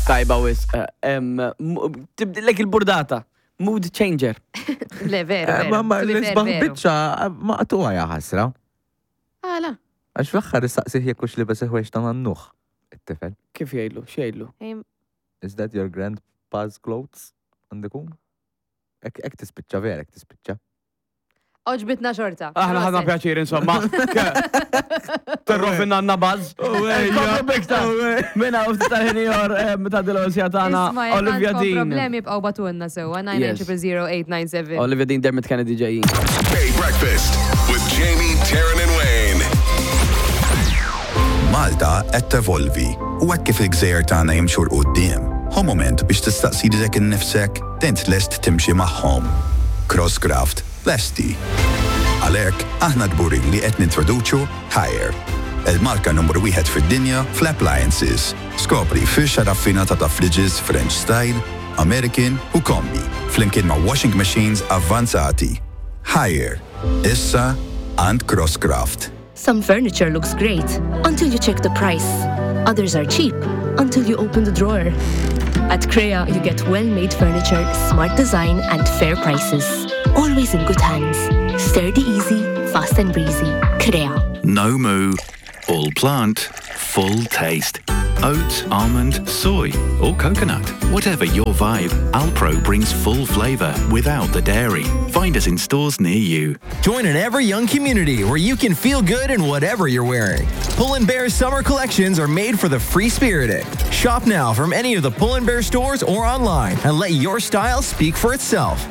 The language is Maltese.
Tajba wisq. Tibdillek il-burdata. Mood changer. Le, veru, Eh, veru. Ma ma To be fair, l-isbaħ veru. biċċa maqtuha ja ħasra. Għala. Għax fl-aħħar issaqsih jekk hux libes il-ħwejjeġ ta' nannuh. It-tifel. Kif jgħidlu? X'jgħidlu? Ej, Is that your grandpa's clothes? Għandikum? Ek ek tispiċċa vera, ek tispiċċa. Oġbitna xorta. Aħna ħadna Proset. pjaċir insomma. Terrofinna għanna buzz. Komplu biktar. Minna u ftit tal-ħin ieħor ta' dil-osja tagħna Isma, jekk Olivia għandkom Dean. problemi bqgħu batunna sewwa Yes. 9000897. Olivia Dean Dermot Kennedy ġejjin. Bay Breakfast with Jamie, Taryn, and Wayne. Malta qed tevolvi u hekk kif il-gżejjer tagħna jimxu 'l quddiem, ħu mument biex tistaqsi lilek innifsek int lest timxi magħhom. Crosscraft lesti. Għalhekk aħna kburin li qed nintroduċu Haier, il-marka numru wieħed fid-dinja fl-appliances. Skopri firxa raffinata ta' fridges French style, American u kombi, flimkien ma' washing machines avvanzati. Haier, issa għand Crosscraft. Some furniture looks great until you check the price. Others are cheap until you open the drawer. At Crea, you get well-made furniture, smart design, and fair prices. Always in good hands. Sturdy easy, fast and breezy. Crea. No moo, all plant, full taste. Oat, almond, soy, or coconut. Whatever your vibe, Alpro brings full flavour without the dairy. Find us in stores near you. Join an ever young community where you can feel good in whatever you're wearing. Pull and Bear's summer collections are made for the free spirited. Shop now from any of the Pull and Bear stores or online and let your style speak for itself.